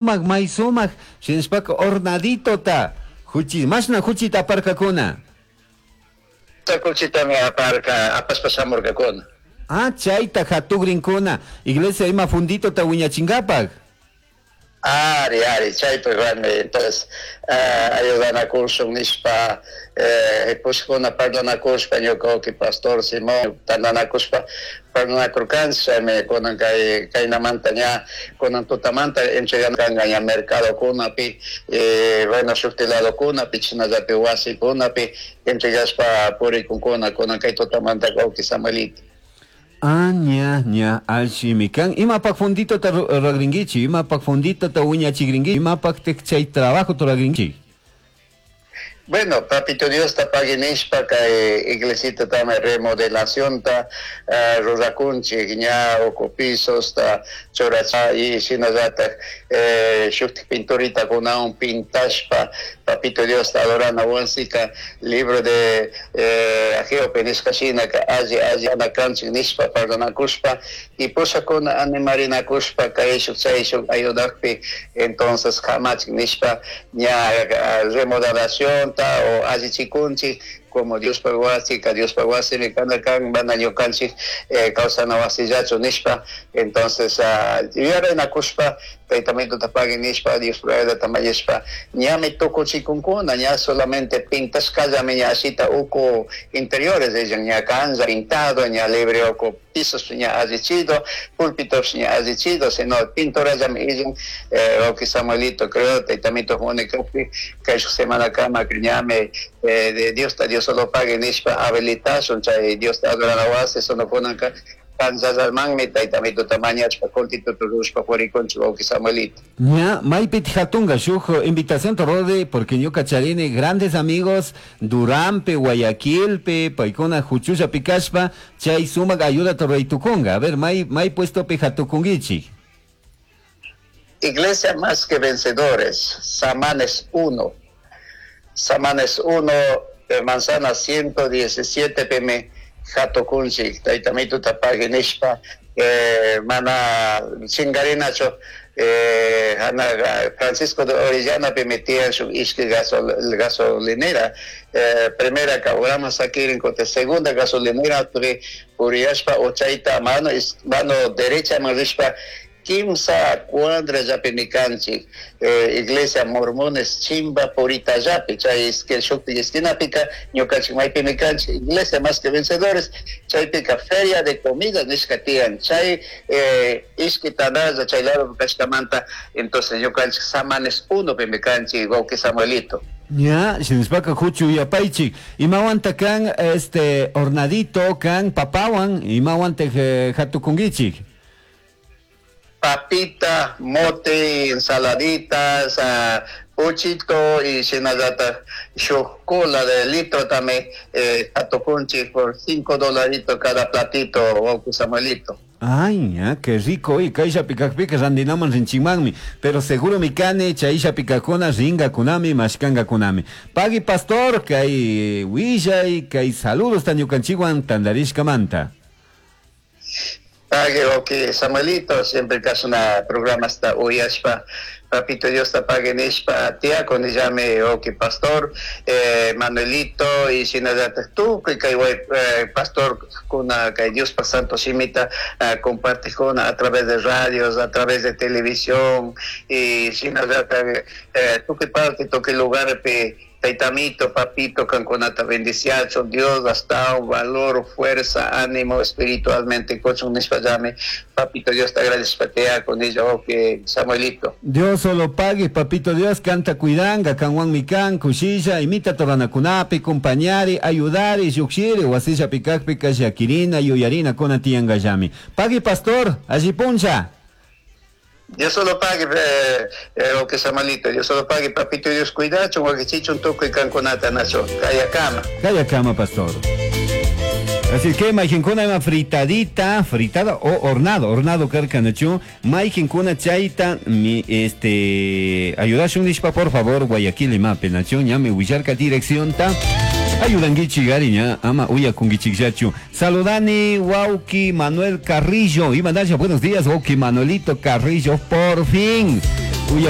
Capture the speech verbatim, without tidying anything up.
May sumak shinashpaka hornaditota huchi mashna huchita aparkakuna. Kuchitami aparka, apashpa shamurkakuna. Ah, chayta hatukrinkuna iglesia ima funditota wiñachinkapak. Ari, ari, chaypi warmi, entonces uh, ayudanakushun nishpa, eh, pushkuna parlanakushpa, ñuka wawki pastor Simón tantanakushpa parlanakurkanchik, chaymi kunan kay kaynamanta ña kunan tutamanta entregankanka ña mercadokunapi, eh, bueno, shukti ladokunapi, chashnallapi wasikunapi entregashpa purikunkuna kunan kay tutamanta, wawki Samuelito. Ah, ña, ña, allimi kan. Imapak funditota ruragrinkichik, imapak funditota wiñachikrinkichik, imapak chay trabajo ruragrinkichik? Bueno, Papito Dios ta pagui nishpa kay iglesita tama remodelacionta uh, rurakunchik, ña uku pisosta churacha y shinallatak eh, shuktik pinturita kunawan pintashpa Papito Dios ta adorana wasika libro de eh, Ageo nishka shinaka alli alli kanchik nishpa parlanakushpa y pushakuna animarinakushpa kayshuk chayshuk ayudakpi, entonces kamachik nishpa ña remodelación o allichikunchik como Dios wasi, Dios wasimi kana kan, mana ñukanchik eh, kawsana wasillachu nishpa. Entonces uh, yuyarinakushpa taytamituta pagui nishpa, Dios ta mañashpa ñami tukuchikunkuna, ña solamente pintashkallami ña ashita uku interiores ella ña kanlla pintado, ña libre uku pisos ña allichido, púlpitos ña allichido, sino pinturallami illan, eh, wawki Samuelito. Creo taytamito munikakpi kay shuk semana kama ñami eh, de Dios ta Dios solo pague nishpa habilitashun chay Dios ta adorana wasi sonokunaka kanllalmanmi taytamituta mañashpa kullkituta rushpa purikunchik, wawki Samuelito. Ña, maypi hatunga shuk invitación rode, porque ñuka charini grandes amigos Duranpe, Guayaquilpe, paykuna huchulla pikashpa chay sumak ayuda ruraytukunga. A ver, may may puesto pi hatukungichik? Iglesia Más que Vencedores, Samanes uno. Samanes uno, eh, manzana ciento diecisiete pimi hatukunchik, taytamituta pagui nishpa, eh, mana chingarinachu, eh, hana Francisco de Orellana pimi tiyan shuk ishki gasol, gasolinera, eh, primera ka sakirin kote segunda gasolinera turi puriyashpa uchayta mano mano derecha man rishpa kimsa cuadra llapimi kanchik, eh, iglesia Mormones Chimba Purita llapi chay shukti esquinapika ñukanchik maypimi kanchik, Iglesia Más que Vencedores. Chaypika feria de comida nishka tiyan, chay eh, ishki tandalla chay lado kashkamanta. Entonces ñukanchik Samanes uno pimi kanchik, wawki Samuelito. Ña, shinashpaka huchu yapaychik. Imawanta kan este hornadito kan papawan, imawanta eh, hatukungichik? Papita, mote, ensaladitas, uh, puchito y shinallata shuk cola de litro también, eh, hatukunchik por cinco dolaritos cada platito, wawki Samuelito. Ay, ya, qué rico, y kaysha pikakpika randinaman rinchikmanmi, pero seguro mi kani chaysha pikakuna ringakunami, mashkangakunami. Pagui, pastor, kay willay, kay saludos ta ñukanchikwan tandarishkamanta. Pagui, wawki Samuelito, siempre kashna programasta uyashpa, Papito Dios ta pagui nishpa, tiyakunillami wawki pastor, eh, Manuelito, y shinallatak tukuy kay eh, pastor kuna kay Dios santo shimita uh, compartikuna a través de radios, a través de televisión, y shinallatak eh, tukuy parte, tukuy lugar pi taytamito, papito, kankunata bendiciacho, Dios hasta un valor, fuerza, ánimo espiritualmente, kuchun nishpallami, papito Dios te agradezco con ello, que Samuelito. Dios solo pague, papito Dios, kanta cuidanga, kanwanmi kan, kushilla, imita toranakunapi, compañari, ayudari, llukshiri, wasilla pikakpi, kashakirina, yuyarina, kuna tiyangallami. Pagui, pastor, alli puncha. Dios solo pague, eh, eh, wawki Samuelito, Dios solo pague, papito Dios cuidacho, wakichichun tukuy kankunata nacho, kayakama. Kayakama, pastor. Así que mayqinkuna ima fritadita, fritada o hornado, hornado karkanachu, mayqinkuna chayta mi este ayudashun nishpa, por favor, Guayaquil imapi nachu, ñami willarka dirección ta. Ayudanguichi gariña, ama uyakungichikllachu. Saludani wawki Manuel Carrillo. Y mandarse buenos días, wawki Manuelito Carrillo, por fin. Uya